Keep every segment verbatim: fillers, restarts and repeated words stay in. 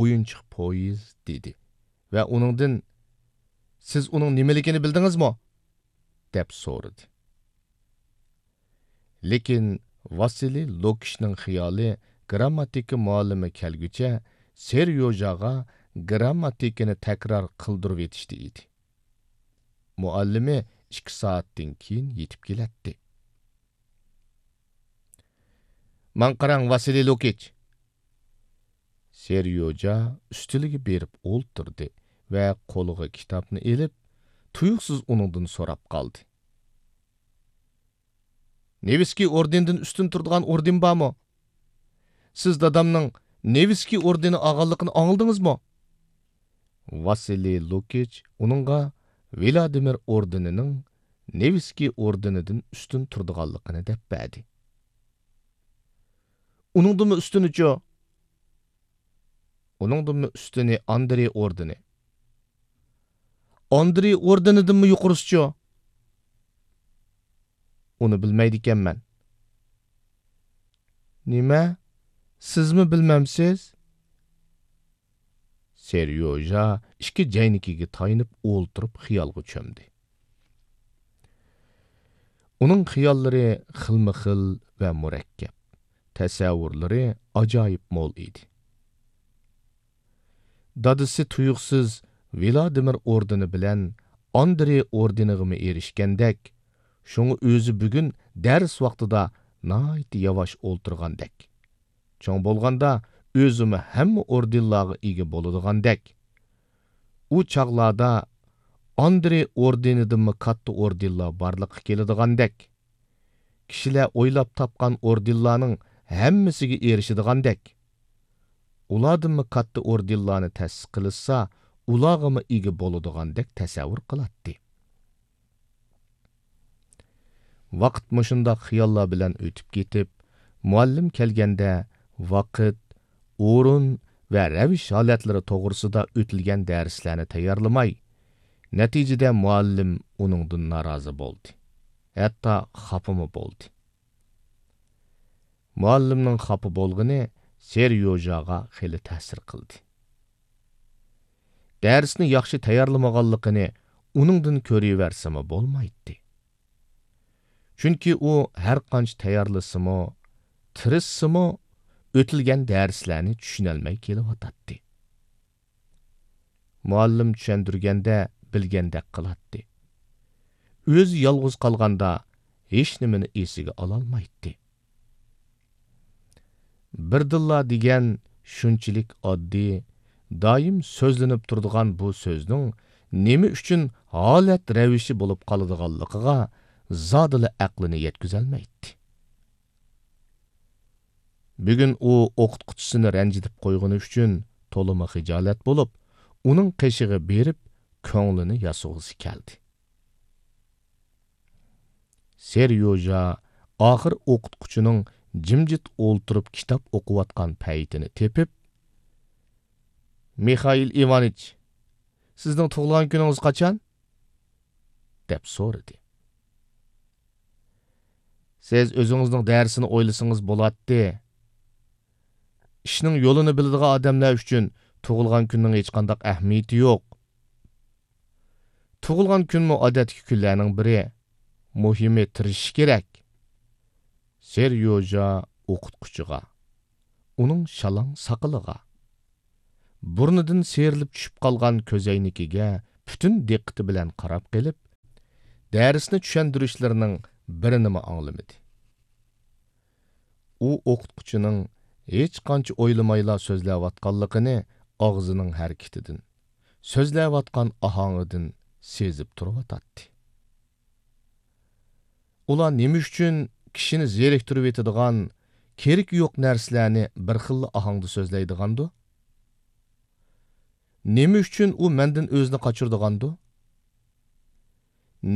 ئويۇنچۇق پويىز، دېدى ۋە ئۇنىڭدىن، سىز ئۇنىڭ نېمىلىكىنى بىلدىڭىزمۇ؟ دەپ سورىدى. لېكىن ۋاسىلىي لۇكىچنىڭ خىيالى گىرامماتىكا مۇئەللىمى كەلگۈچە سېريوژاغا گىرامماتىكىنى تەكرار قىلدۇرۇۋېتىشتە ئىدى. مۇئەللىمى ئىككى سائەتتىن كېيىن يېتىپ كېلەتتى. ماڭا قاراڭ، ۋاسىلىي لۇكىچ! سېريوژا ئۈستىلىگە بېرىپ ئولتۇردى ۋە قولىغا كىتابنى ئېلىپ، تۇيۇقسىز ئۇنىڭدىن سوراپ قالدى. نېۋىسكىي ئوردېنىدىن ئۈستۈن تۇرىدىغان ئوردېن بارمۇ؟ سىز دادامنىڭ نېۋىسكىي ئوردېنى ئالغانلىقىنى ئاڭلىدىڭىزمۇ؟ ۋاسىلىي لۇكىچ ئۇنىڭغا ۋلادىمىر ئوردېنىنىڭ نېۋىسكىي ئوردېنىدىن ئۈستۈن تۇرىدىغانلىقىنى دەپ بەردى. ئۇنىڭدىنمۇ ئۈستۈنىچۇ؟ ئۇنىڭدىنمۇ ئۈستۈنى ئاندرېي ئوردېنى. ئاندرېي ئوردېنىدىنمۇ يۇقىرىسىچۇ؟ ئۇنى بىلمەيدىكەنمەن. نېمە؟ سىزمۇ بىلمەمسىز؟ سېريوژا ئىككى جەينىكىگە تايىنىپ ئولتۇرۇپ خىيالغا چۆمدى. ئۇنىڭ خىياللىرى خىلمۇ خىل ۋە مۇرەككەپ، تەسەۋۋۇرلىرى ئاجايىپ مول ئىدى. دادىسى تۇيۇقسىز ۋلادىمىر ئوردېنى بىلەن ئاندرېي ئوردېنىغىمۇ ئېرىشكەندەك، شۇڭا ئۆزى بۈگۈن دەرس ۋاقتىدا ناھايىتى ياۋاش ئولتۇرغاندەك، چوڭ بولغاندا ئۆزىمۇ ھەممە ئوردېنلارغا ئىگە بولىدىغاندەك، ئۇ چاغلاردا ئاندرېي ئوردېنىدىنمۇ كاتتا ئوردېنلار بارلىققا كېلىدىغاندەك، كىشىلەر ئويلاپ تاپقان ئوردېنلارنىڭ ھەممىسىگە ئېرىشىدىغاندەك، ئۇلاردىنمۇ كاتتا ئوردېنلارنى تەسىس قىلىشسا، ئۇلارغىمۇ ئىگە بولىدىغاندەك تەسەۋۋۇر قىلاتتى. ۋاقىت مۇشۇنداق خىياللار بىلەن ئۆتۈپ كېتىپ، مۇئەللىم كەلگەندە ۋاقىت، ئورۇن ۋە رەۋىش ھالەتلىرى توغرىسىدا ئۆتۈلگەن دەرسلەرنى تەييارلىماي، نەتىجىدە مۇئەللىم ئۇنىڭدىن نارازى بولدى. ھەتتا خاپىمۇ بولدى. مۇئەللىمنىڭ خاپا بولغىنى سېريوژاغا خېلى تەسىر قىلدى. دەرسنى ياخشى تەييارلىمىغانلىقىنى ئۇنىڭدىن كۆرۈۋەرسىمۇ بولمايتتى. چۈنكى ئۇ ھەرقانچە تەييارلىسىمۇ، تىرىشسىمۇ، ئۆتۈلگەن دەرسلەرنى چۈشىنەلمەي كېلىۋاتاتتى. مۇئەللىم چۈشەندۈرگەندە بىلگەندەك قىلاتتى. ئۆزى يالغۇز قالغاندا ھېچنېمىنى ئېسىگە ئالالمايتتى. بىردىنلا دېگەن شۇنچىلىك ئاددىي، دائىم سۆزلىنىپ تۇرىدىغان بۇ سۆزنىڭ نېمە ئۈچۈن ھالەت رەۋىشى بولۇپ قالىدىغانلىقىغا زادىلا ئەقلىنى يەتكۈزەلمەيتتى. بۈگۈن ئۇ ئوقۇتقۇچىسىنى رەنجىتىپ قويغىنى ئۈچۈن تولىمۇ خىجالەت بولۇپ، ئۇنىڭ قېشىغا بېرىپ، كۆڭلىنى ياسىغۇسى كەلدى. سېريوژا ئاخىر ئوقۇتقۇچىنىڭ جىمجىت ئولتۇرۇپ كىتاب ئوقۇۋاتقان پەيتىنى تېپىپ، «مىخائىل ئىۋانىچ، سىزنىڭ تۇغۇلغان كۈنىڭىز قاچان؟» دەپ سورىدى. «سىز ئۆزىڭىزنىڭ دەرسىنى ئويلىسىڭىز بولاتتى. ئىشنىڭ يولىنى بىلىدىغان ئادەملەر ئۈچۈن تۇغۇلغان كۈننىڭ ھېچقانداق ئەھمىيىتى يوق. تۇغۇلغان كۈنمۇ ئادەتتىكى كۈنلەرنىڭ بىرى. مۇھىمى تىرىشىش كېرەك.» سېريوژا ئوقۇتقۇچىغا، ئۇنىڭ شالاڭ ساقىلىغا، بۇرنىدىن سىيرىلىپ چۈشۈپ قالغان كۆزەينىكىگە پۈتۈن دىققىتى بىلەن قاراپ قېلىپ، دەرسنى چۈشەندۈرۈشلىرىنىڭ بىرىنىمۇ ئاڭلىمىدى. ئۇ ئوقۇتقۇچىنىڭ ھېچقانچە ئويلىمايلا سۆزلەۋاتقانلىقىنى ئاغزىنىڭ ھەرىكىتىدىن، سۆزلەۋاتقان ئاھاڭىدىن سېزىپ تۇرۇۋاتاتتى. ئۇلار نېمە ئۈچۈن كىشىنى زېرىكتۈرۈۋېتىدىغان، كېرىكى يوق نەرسىلەرنى بىر خىللا ئاھاڭدا سۆزلەيدىغاندۇ؟ نېمە ئۈچۈن ئۇ مەندىن ئۆزىنى قاچۇرىدىغاندۇ؟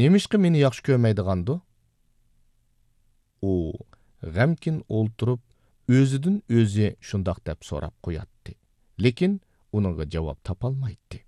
نېمىشقا مېنى ياخشى كۆرمەيدىغاندۇ؟ ئۇ غەمكىن ئولتۇرۇپ، ئۆزىدىن ئۆزى شۇنداق دەپ سوراپ قوياتتى، لېكىن ئۇنىڭغا جاۋاب تاپالمايتتى.